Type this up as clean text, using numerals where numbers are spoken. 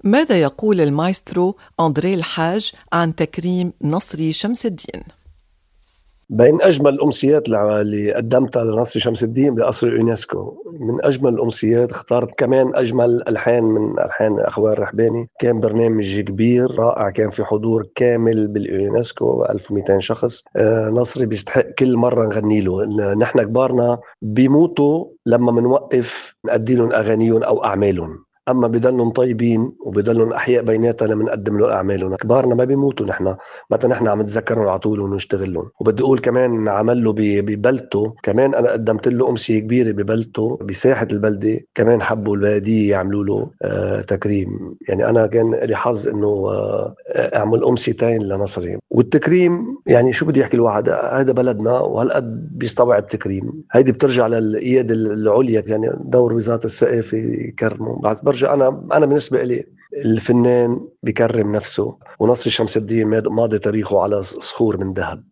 ماذا يقول المايسترو أندري الحاج عن تكريم نصري شمس الدين؟ بين أجمل الأمسيات اللي قدمتها لنصري شمس الدين بقصر اليونسكو، من أجمل الأمسيات اختارت كمان أجمل ألحان من ألحان أخوان الرحباني. كان برنامج كبير رائع، كان في حضور كامل باليونسكو 1200 شخص. نصري بيستحق كل مرة نغني له. نحن كبارنا بيموتوا لما منوقف نأدي لهم أغانيهم أو أعمالهم، أما بضلهم طيبين وبضلهم أحياء بيناتنا لما نقدم له أعمالهم. كبارنا ما بيموتوا، نحن متى نحن عم نتذكرهم على طول ونشتغل لهم. وبدي أقول كمان عمل له ببلدته، كمان أنا قدمت له أمسية كبيرة ببلدته بساحة البلدة، كمان حبوا البلدية يعملوا له تكريم. يعني أنا كان لي حظ إنه أعمل أمسيتين لنصري. والتكريم يعني شو بده يحكي الواحد، هذا بلدنا وهالقد بيستوعب تكريم. هيدي بترجع للقيادة العليا، يعني دور وزارة الثقافة يكرمه. بعد برجع أنا بالنسبة لي الفنان بكرم نفسه، ونصري شمس الدين ماضي تاريخه على صخور من ذهب.